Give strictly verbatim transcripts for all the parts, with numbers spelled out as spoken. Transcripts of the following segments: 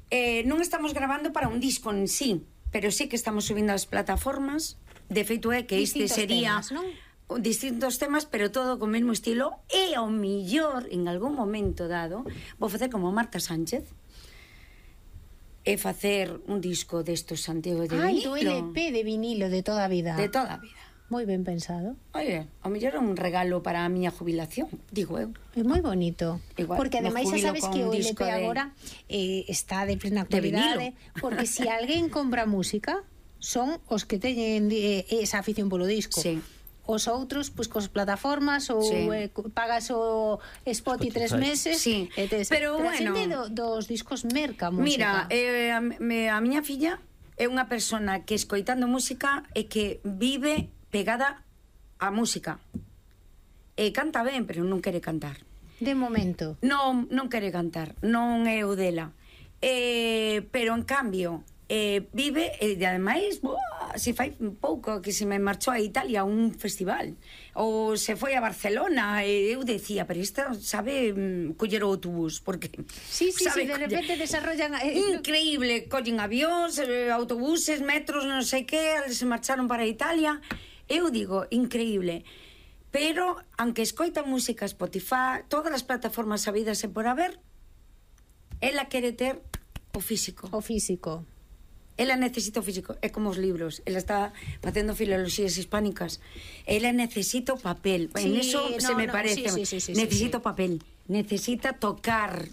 eh, non estamos grabando para un disco en sí, pero sí que estamos subindo as plataformas. De feito é que este sería temas, non? distintos temas, pero todo co mesmo estilo, e ao millor en algún momento dado vou facer como Marta Sánchez e facer un disco destos Santiago de Ai, vinilo. do L P de vinilo de toda a vida. De toda a vida. Moi ben pensado. Oye, ao mellor é un regalo para a miña jubilación, digo eu. É moi bonito. Igual, porque ademais xa sabes que o L P de... agora eh, está de plena actualidade, porque se si alguén compra música son os que teñen eh, esa afición polo disco. Sí. Os outros, pois, cos plataformas ou Sí. eh, pagas o Spotify tres meses. Sí. E tes, Pero, pero bueno, a xente do, dos discos merca música. Mira, eh, a, me, a miña filla é unha persona que escoitando música e que vive pegada á música. E canta ben, pero non quere cantar. De momento. Non, non quere cantar, non é o dela. Eh, pero en cambio, eh, vive, e ademais, buah, se fai pouco que se me marchou a Italia a un festival, ou se foi a Barcelona, e eu decía, pero esta sabe mm, coller o autobús, porque Sí, sí, sí, sabe de coller. repente desarrollan eh, Increíble, collen avións, eh, autobuses, metros, non sei que, se marcharon para Italia. Eu digo, increíble. Pero, aunque escoita música Spotify, todas as plataformas sabidas e por haber, ela quere ter o físico. o físico. Ela necesita o físico, é como os libros. Ela está facendo filoloxías hispánicas. Ela necesita o papel. Sí, En eso no, se me no, parece. sí, sí, sí, sí, necesita sí, o papel. Necesita tocar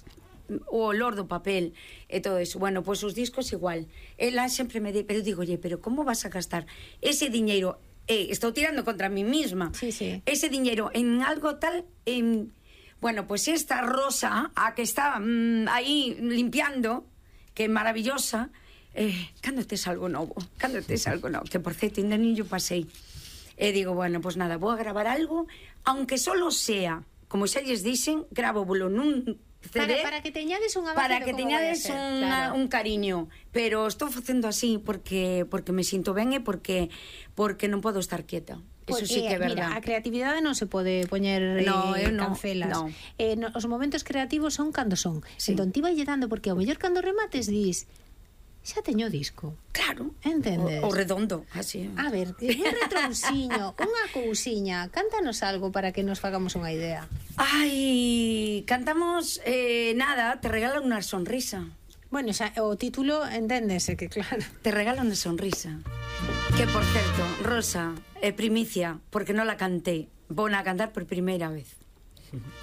o olor do papel e todo eso. Bueno, pois pues, os discos igual. Ela sempre me di, pero digo, oye, pero como vas a gastar ese diñeiro? Eh, estou tirando contra mí misma. Sí, sí. Ese diñeiro en algo tal... En, bueno, pues esta Rosa, a que está mmm, aí limpiando, que é maravillosa, eh, cando tes algo novo, cando tes algo novo, que por certo ainda nin yo pasei. E digo, bueno, pues nada, vou a gravar algo, aunque solo sea, como xa lles dixen, grávovolo nun C D, Para, para que teñades unha base para de que como vai a teñades ser, unha, claro. un cariño, pero estou facendo así porque porque me sinto ben e porque porque non podo estar quieta. Eso sí que é verdad. Mira, a creatividade non se pode poñer No, eh, eu no, cancelas. no. Eh, no, os momentos creativos son cando son. Sí. Entón ti vai dando, porque ao mellor cando remates dis, xa teño disco. Claro. Entendes? O, o redondo, así. A ver, un retrousiño, unha cousiña, cántanos algo para que nos fagamos unha idea. Ai, cantamos eh, nada, te regalo unha sonrisa. Bueno, xa, o título enténdese que claro. Te regalo unha sonrisa. Que, por certo, Rosa, é primicia, porque non la canté. Vou a cantar por primeira vez.